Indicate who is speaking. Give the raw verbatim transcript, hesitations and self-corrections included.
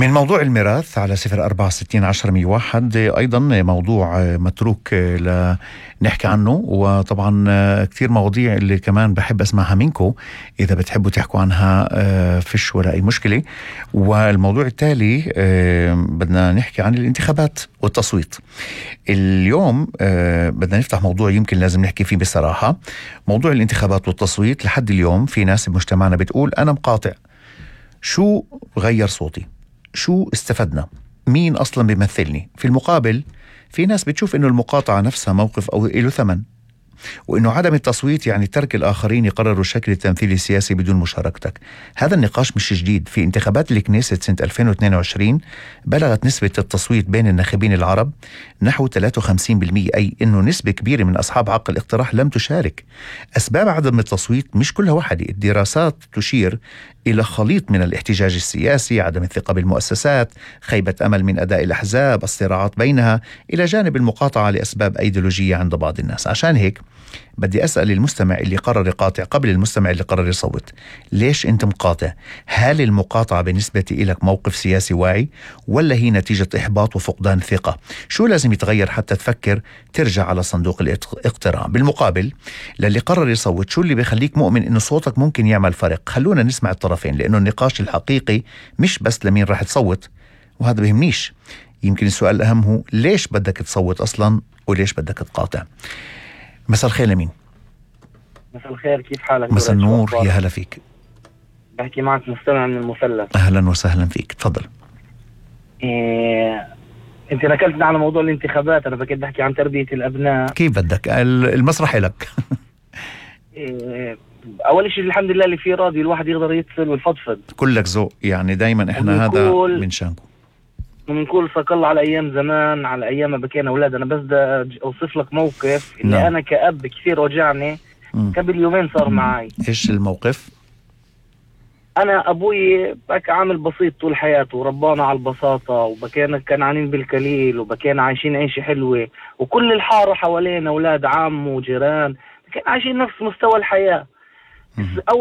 Speaker 1: من موضوع الميراث على صفر أربعة ستين عشرة مية واحد، أيضا موضوع متروك لنحكي عنه، وطبعا كتير مواضيع اللي كمان بحب أسمعها منكم إذا بتحبوا تحكوا عنها، فيش ولا أي مشكلة. والموضوع التالي بدنا نحكي عن الانتخابات والتصويت. اليوم بدنا نفتح موضوع يمكن لازم نحكي فيه بصراحة، موضوع الانتخابات والتصويت. لحد اليوم في ناس بمجتمعنا بتقول أنا مقاطع، شو غير صوتي؟ شو استفدنا؟ مين أصلا بيمثلني؟ في المقابل في ناس بتشوف إنه المقاطعة نفسها موقف أو له ثمن، وإنه عدم التصويت يعني ترك الآخرين يقرروا الشكل التمثيلي السياسي بدون مشاركتك. هذا النقاش مش جديد. في انتخابات الكنيست سنة ألفين واثنين وعشرين بلغت نسبة التصويت بين الناخبين العرب نحو ثلاثة وخمسين بالمئة، أي إنه نسبة كبيرة من أصحاب حق الاقتراح لم تشارك. أسباب عدم التصويت مش كلها واحدة. الدراسات تشير إلى خليط من الاحتجاج السياسي، عدم الثقة بالمؤسسات، خيبة أمل من أداء الأحزاب، الصراعات بينها، إلى جانب المقاطعة لأسباب أيديولوجية عند بعض الناس. عشان هيك بدي أسأل المستمع اللي قرر يقاطع قبل المستمع اللي قرر يصوت، ليش أنت مقاطع؟ هل المقاطعة بالنسبة إلك موقف سياسي واعي، ولا هي نتيجة إحباط وفقدان ثقة؟ شو لازم يتغير حتى تفكر ترجع على صندوق الاقتراع؟ بالمقابل للي قرر يصوت، شو اللي بيخليك مؤمن إنه صوتك ممكن يعمل فرق؟ خلونا نسمع الطرفين، لأنه النقاش الحقيقي مش بس لمين راح تصوت، وهذا بيهمنيش. يمكن السؤال الأهم هو ليش بدك تصوت أصلا، وليش بدك تقاطع؟ مساء الخير لمين؟
Speaker 2: مساء الخير، كيف حالك؟
Speaker 1: مساء النور، يا هلا فيك.
Speaker 2: بحكي معك مستمع من المثلث.
Speaker 1: أهلا وسهلا فيك، تفضل.
Speaker 2: إيه... انت نكلتنا على موضوع الانتخابات، انا بكيت بحكي عن تربية الابناء.
Speaker 1: كيف بدك، المسرح لك.
Speaker 2: إيه... اول شيء الحمد لله اللي فيه راضي، الواحد يقدر يتصل ويفضفض.
Speaker 1: كلك ذوق يعني، دايما احنا هذا من شانكم.
Speaker 2: ومنقول فك الله على ايام زمان، على ايام ما بكينا اولاد. انا بس بدي اوصف لك موقف اللي نعم. انا كأب كثير وجعني. م. قبل يومين صار معي.
Speaker 1: ايش الموقف؟
Speaker 2: انا ابوي بك عامل بسيط طول حياته، وربانا على البساطة، وبكينا كنعانين بالكليل، وبكينا عايشين عيشة حلوة، وكل الحارة حوالينا اولاد عم وجيران، كان عايشين نفس مستوى الحياة.